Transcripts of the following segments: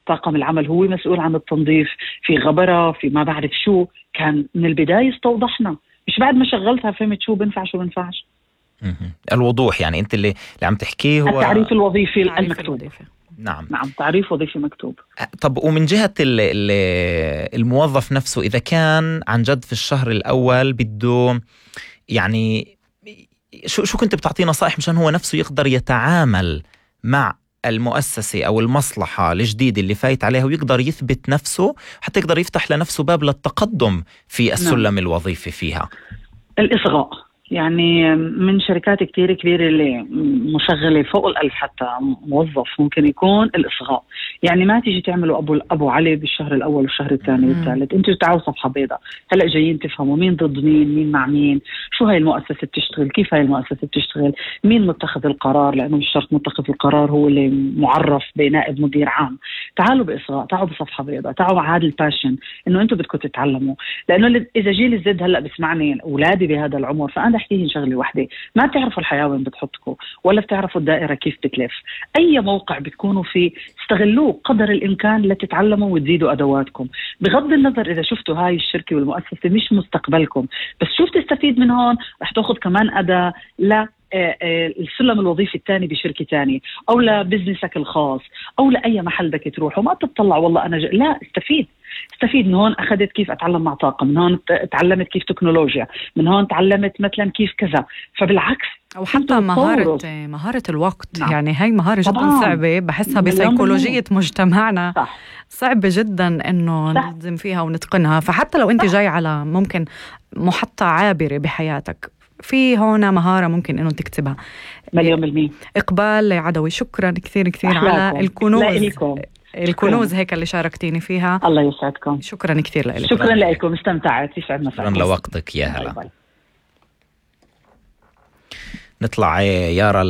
طاقم العمل هو مسؤول عن التنظيف، في غبرة، في ما بعرف شو. كان من البداية استوضحنا، مش بعد ما شغلتها فهمت شو بنفع شو بنفعش. الوضوح يعني انت اللي عم تحكيه هو التعريف الوظيفي المكتوب. نعم تعريف وظيفي مكتوب. طب ومن جهة الموظف نفسه، إذا كان عن جد في الشهر الأول بده يعني شو كنت بتعطيه نصائح مشان هو نفسه يقدر يتعامل مع المؤسسة أو المصلحة الجديدة اللي فايت عليها ويقدر يثبت نفسه حتى يقدر يفتح لنفسه باب للتقدم في السلم الوظيفي فيها؟ الإصغاء، يعني من شركات كتير كبيرة اللي مشغلة فوق 1000 حتى موظف ممكن يكون الإصغاء. يعني ما تيجي تعملوا أبو علي بالشهر الأول والشهر الثاني والثالث، انتوا تعالوا صفحة بيضاء. هلأ جايين تفهموا مين ضد مين مع مين، شو هاي المؤسسة بتشتغل، كيف هاي المؤسسة بتشتغل، مين متخذ القرار، لأنه مش شرط متخذ القرار هو اللي معرف بنائب مدير عام. تعالوا بإصغاء، تعالوا بصفحة بيضاء، تعالوا مع هذا الباشن إنه انتوا بدكم تتعلموا. لأنه إذا جيل الزد هلأ بسمعني أولادي بهذا العمر، فأنا أحكيهم شغلة واحدة، ما بتعرفوا الحياة وين بتحطكم ولا بتعرفوا الدائرة كيف بتلف. أي موقع بتكونوا فيه استغلوه قدر الإمكان لتتعلموا وتزيدوا أدواتكم، بغض النظر إذا شفتوا هاي الشركة والمؤسسة مش مستقبلكم، بس شوف تستفيد من هون رح تأخذ كمان أداة لا السلم الوظيفي الثاني بشركة ثانية، أو لبزنسك الخاص، أو لأي محل بدك تروح. وما تطلع والله أنا لا، استفيد من هون. أخذت كيف أتعلم مع طاقم، من هون تعلمت كيف تكنولوجيا، من هون تعلمت مثلا كيف كذا. فبالعكس، أو حتى مهارة الوقت. نعم. يعني هاي مهارة جدا صعبة، بحسها بسيكولوجية مجتمعنا. صح. صعبة جدا إنه نلزم فيها ونتقنها. فحتى لو أنت جاي على ممكن محطة عابرة بحياتك، في هون مهارة ممكن إنه تكتبها. 100%. إقبال عدوي، شكرا كثير على الكنوز هيك اللي شاركتيني فيها. الله يسعدكم. شكرا كثير لك. شكرا لكم، استمتعت، يسعدنا. شكرا لوقتك يا هلا. نطلع يارا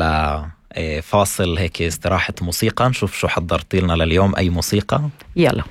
لفاصل هيك استراحة موسيقى، نشوف شو حضرتي لنا لليوم. أي موسيقى؟ يلا.